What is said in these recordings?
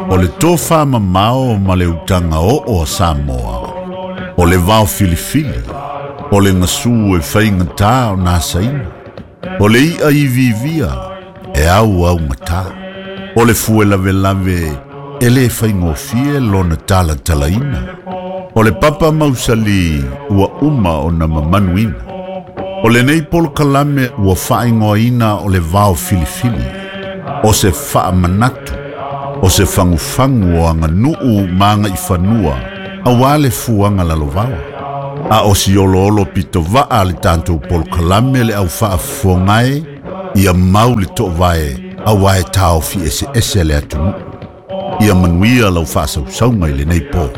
O le tofamamao ma le utaga oo a Samoa, o le vaofilifili, o le gasu e faigatā ona asaina, o le i'a iviivia e auaugatā, o le fue lavelave e lē faigofie lona talatalaina, o le papa mausali ua uma ona mamanuina. O lenei polokalame ua faaigoaina o le vaofilifili, o se faamanatu, o se fagufagu o aganuu ma agaifanua auā le fuaga lalovaoa. A o si oloolo pitovaa a le tatou polokalame le au faafofogae ia mau le toovae auā e taofi eseese le atunuu. Ia manuia lau faasausauga i lenei po.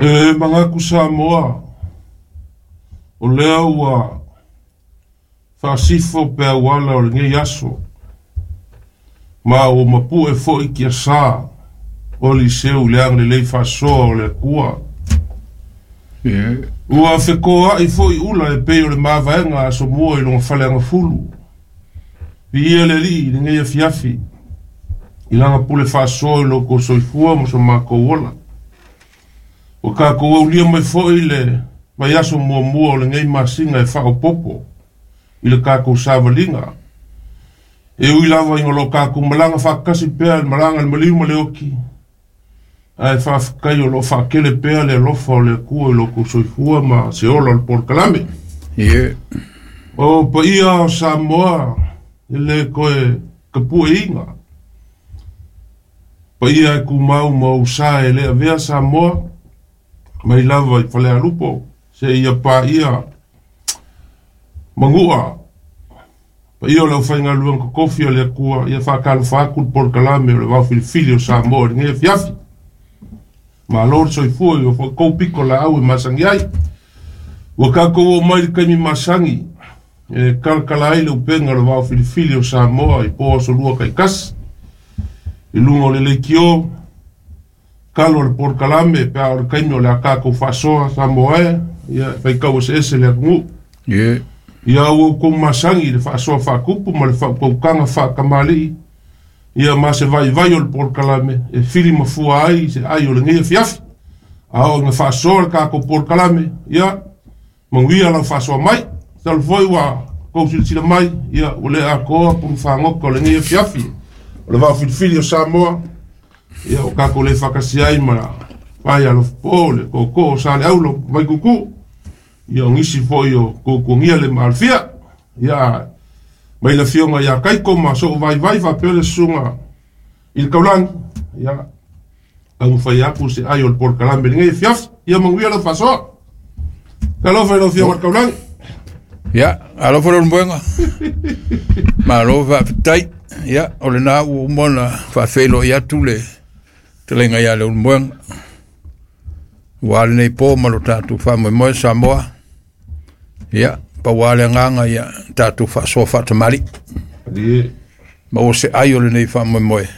E manatu Samoa, o lea ua faasifo pe auala o lenei aso, ma ua mapu'e fo'i kiasā o liseu i le agalelei faasoa o le Atua. Ua fekoa'i fo'i ula e pei o le mavaega a asomua i lona faleagafulu. Viia le Alii i lenei afiafi, i lana pule faasoa i lo outou soifua ma so matou ola. Ua tatou aulia mai foi le vaiaso muamua o lenei masina e faaopoopo i le tatou savaliga. E ui lava ina o lo o tatou malaga faatasi pea i le malaga i le maliu ma le oti, ae faafetai o lo o faatele pea le alofa o le Atua i lo outou soifua ma se ola o le polokalame. O paia o Samoa e le toe tapueina. Paia e tumau ma ou sa e le avea Samoa mai lava i Falealupo seia paia Manua. Paia o le aufaigaluega totofi a le Atua, ia faatalofa atu le polokalame o le vaofilifili o Samoa i lenei afiafi. Malo le soifua i o foi tou pito laau e masani ai. Ua tatou oo mai i le taimi masani e talatala ai le upega o le vaofilifili o Samoa i po aso lua taitasi. I luga o le leitio, talo o le polokalame pe a o le taimi o le a tatou faasoa Samoa e, ia e faitau eseese le atunuu. Ia ua outou masani i le faasoa faatupu ma le faautautaga faatamalii, ia ma se vaivai o le polokalame e fili mafua ai se ai o lenei afiafi. A oo ina faasoa le tatou polokalame, ia manuia lau faasoa mai. Talu foi ua tou silasila mai, ia ua le atoa pulu fagota o lenei afiafi o le vaofilifili o Samoa, ia ua tatou le faatasi ai ma Fai Alofapo, le tootoo o Saleaulo Vaituutuu, ia o nisi foi o tuatuagia le maalofia. Ia mai le afioga ia Kaiko ma sou vaivai faapea le susuga i le Taulagi, ia taumafai atu se ai o le polokalame i lenei afiafi. Ia manuia lau faasoa. Talofa i lau afioga i le Taulagi. Ia, alofa le moega. Malo faafetai. Ia, o lena ua uma ona faafeiloai atu le fetalaiga ia Leulumoega. Ua lenei po ma lo tatou faamoemoe Samoa. Ia, pau lava le agaga ia tatou faasoa faatamalii. Maua se ai o lenei faamoemoe.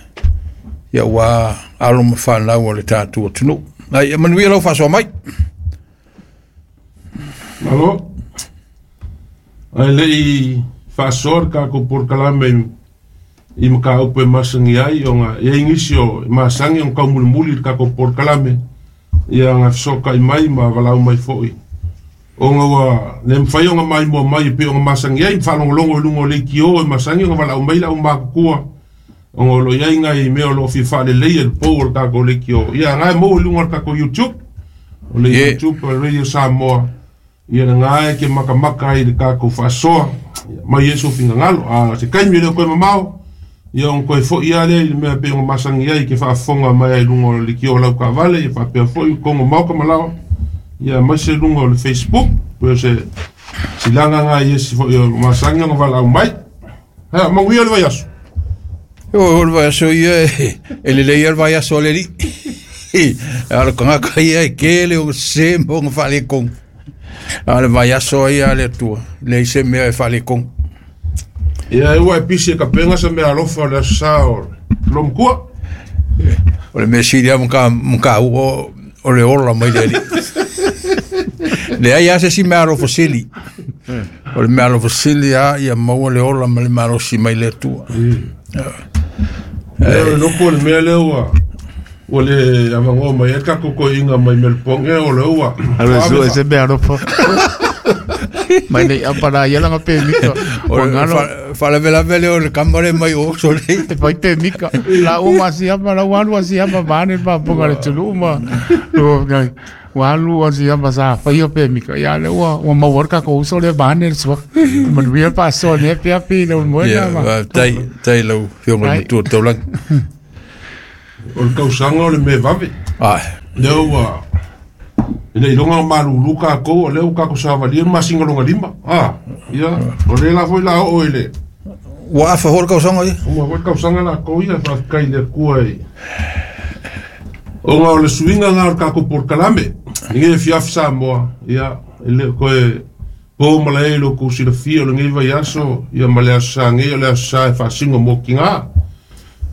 Ia ua alo ma fanau o le tatou atunuu. Ai, ia manuia lau faasoa mai. Malo. Ae le i faasoa le tatou polokalame i mataupu e masani ai, ona e i ai nisi o e masani ona taumulimuli i le tatou polokalame, ia na fesootai mai ma valaau mai foi, ona ua le mafai ona maimoa mai e pei ona masani ai, ma faalogologo i luga o leitio e masani ona valaau mai le aumatutua, ona o lo o i ai nai mea o lo o fia faaleleia i le pou o le tatou leitio. Ia na e maua i luga o le tatou YouTube, o le YouTube o le Radio Samoa, ia lena e te matamata ai i le tatou faasoa, mai ai sou finagalo. A o se taimi e le o toe mamao, ia ona toe foi lava lea i le mea e pei ona masani ai ke faafofoga mai ai i luga o le leitio o lau taavale, ia faapea foi i totonu o maota ma laoa, ia aemaise luga o le Facebook, pei o se silaga lena i esi foi o masani ona valaau mai. Ha, manuia le vaiaso. O le vaiaso ia e lelei lava le vaiaso a le alii. A o le tagata ia e tele ona sese ma ona faaletonu. A o le vaiaso ia a le Atua, e leai se mea e faaletonu. Ia, e ua e pisi e tapena se mea alofa o le Aso Sa o Lomatua. O le mea sili lava ma taua o le ola mai le alii. Leai lava se isi meaalofa sili. O le meaalofa sili lava ia maua le ola ma le malosi mai le Atua. Lea o le loko o le mea lea ua ua le avanoa mai ai le tatou toeaina mai Melbourne o lea ua Alu e sue se meaalofa. Mai nei apa la ia langa pemika. O Ua le ngalo faalavelave lea o le kama lea mai o sole. e fai pemika. La uma siama la ua alu a siama vaeane le faafofoga a le atunuu ma ua alu a siama sa faia pemika. Ia lea ua ua maua le tatou uso lea vaeane le suafa. Manuia le faasoa nei afiafi le Ulumoega Ia, ma faafetai, faafetai i lau Afioga i le Ai. Matua Taulagi. O le tausaga o le mea vave. Ai. Lea ua ina iloga o malulu tatou, o lea ua tatou savalia le masina lona lima. Ah, ia, o lea la foi la oo i le Ua afa foi le tausaga ia. Ua foi le tausaga latou ia, faafetai i le Atua i ona o le suiga lena o le tatou polokalame. I lenei afiafi Samoa, ia, e le o toe po malae i lo outou silafia o lenei vaiaso, ia ma le aso Sa nei, o le aso Sa e faasino mo tina.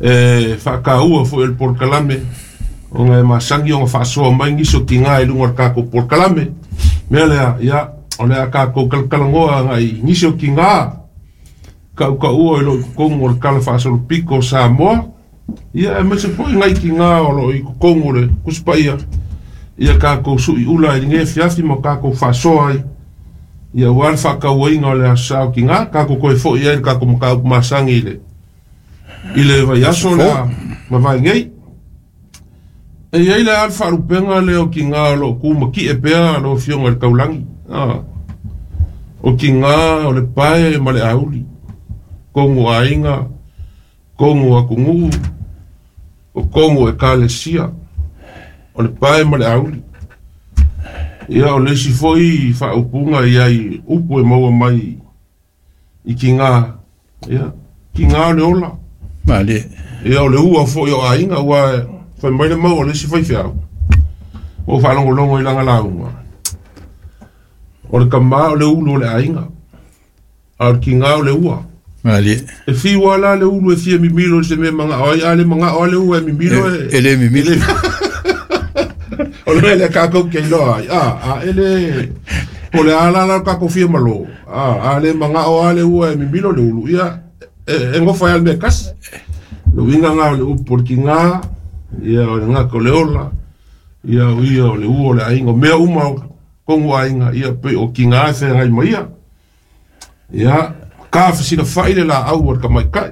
E faataua foi o le polokalame, ona e masani ona faasoa mai nisi o tina i luga o le tatou polokalame. Mea lea, ia, o le a tatou talatalanoa agai nisi o tina tautaua i loo i totonu o le Tala Faasolopito o Samoa, ia aemaise foi nai tina o loo i totonu o le Tusi Paia, ia tatou suiula i lenei afiafi ma tatou faasoa ai, ia aua le faatauaina o le aso Sa o tina, tatou toe foi ai i le tatou mataupu masani i le i le vaiaso le a mavae nei. E i ai le a le faalupega lea o tina o loo tu matie pea lau Afioga i le Taulagi, o tina o le pae ma le auli, tonu aiga, tonu atunuu, o tonu ekalesia, o le pae ma le auli. Ia o le isi foi faaupuga i ai upu e maua mai i tina, ia, tina o le ola. Malie. Ia o le ua foi o aiga, ua fai mai le mau o le isi faifeau. Ua ou faalogologo i lana lauga. O le tama o le ulu o le aiga, a o le tina o le ua. Malie. E fiu lava la le ulu e fia mimilo i se mea e manao ai, a le manao lava le ua e mimilo e... E le mimilo. O le mea lea tatou te iloa ai, a e le... Po o le a la la lo tatou fia malo, a le manao lava le ua e mimilo le ulu, ia, e gofa ai lava le mea e tasi. Le uiga lena o le upu o le tina, ia o le gata o le ola, ia o ia o le ua o le aiga, o mea uma o tonu aiga, ia pei o tina e feagai ma ia. Ia, ka fesilafai le laau a le tamaitai.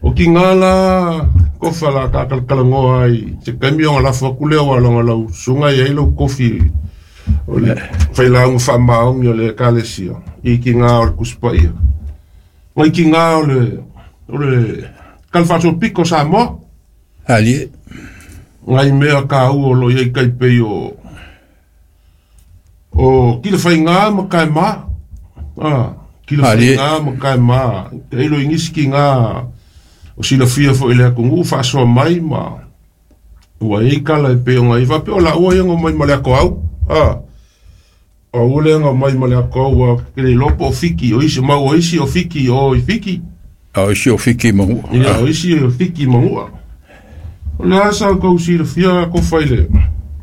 O tina la, kofa la ka talatalanoa ai, se taimi ona lafo atu lea aua leaga lau susuga e i ai lau kofi o le failauga faamaoni o le ekalesia i tina o le Tusi Paia. Nai tina o le o le Tala Faasolopito o Samoa. Alie. Nai mea taua o lo o i ai tai pei o o Kilafaiga ma Kaema. Ah, Kilafaiga ma Kaema. Tailo i nisi tina o silafia foi i le atunuu faasoa mai ma ua i ai tala e pei ona i ai faapea o laua ia na omai ma le atoau. Ah, o aua lea na omai ma le atoau ua ke le iloa po o Fiki o isi mau o isi o Fiki o i Fiki. A o isi o Fiki i Manua. Ia, o isi o Fiki i Manua. O le a sa outou silafia kofa i le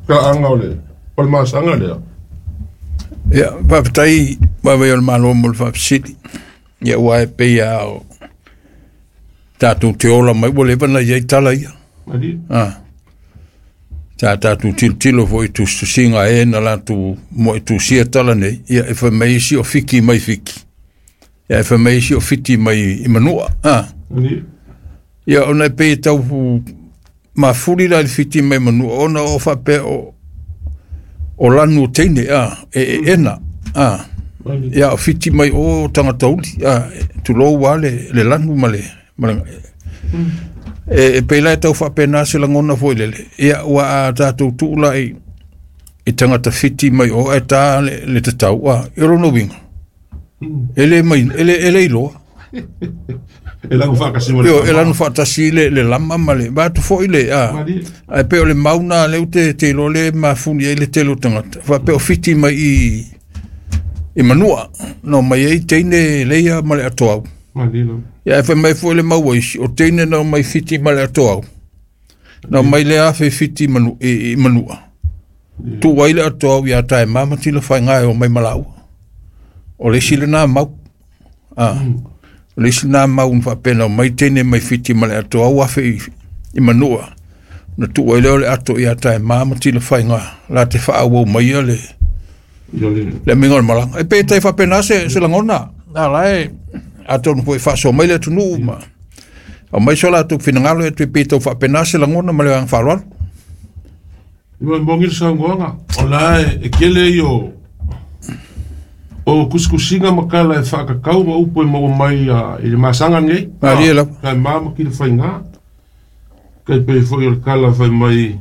talaaga o le palemasaga lea? Ia, faafetai vaivai o le Malo mo le faafesili. Ia, aua e pei lava o tatou te ola mai, ua leva ona i ai tala ia. Malie. Ah. Sa tatou tilotilo foi i tusitusiga a e na latou moetusia tala nei, ia e fai mai isi o Fiki mai Fiki, ia e fai mai isi o Fiti mai i Manua. Ah. Malie. Ia ona e pei e tau mafuli la i le Fiti mai Manua, ona o faapea o lanu o teine, ah, e ena, ah. Malie. Ia o Fiti mai o tagata uli, ah, tulou lava le lanu ma le, ma le e pei la e tau faapena se lagona foi lele. Ia ua a tatou tuu la i tagata Fiti mai o ae ta le tatau, ah, i o lona uiga, e le mai, e le iloa. E lanu faatasi ma le Io, e lanu faatasi le lama ma le vaeatu foi le, ah, Malie. ae pei o le mau na lea ou te iloa lea e mafuli ai le tele o tagata. Faapea o Fiti mai i Manua, na omai ai teine leia ma le atoau. Malie lava. Ia, e fai mai foi le mau a isi, o teine na omai Fiti ma le atoau. Na omai le afe Fiti i Manua. Tuu ai le atoa au ia Taema ma Tilafaiga e omai ma laua. O le isi lena mau. O le isi lena mau na faapena omai teine mai Fiti ma le atoa au 1000 i Manua. Na tuu ai lea o le ato ia Taema ma Tilafaiga la te faaauau maia le le amiga o le malaga. E pe tai faapena se lagona. A la e atonu foi faasoa mai le atunuu ma aumai so latou finagalo e toe pe tau faapena se lagona ma le agaga faaaloalo. Ia moni le saunoaga, o la e tele ia o kusikusiga ma tala e faatatau ma upu e maua mai i le masaga lenei. Malie lava. Taema ma Tilafaiga. Tai pei foi o le tala fai mai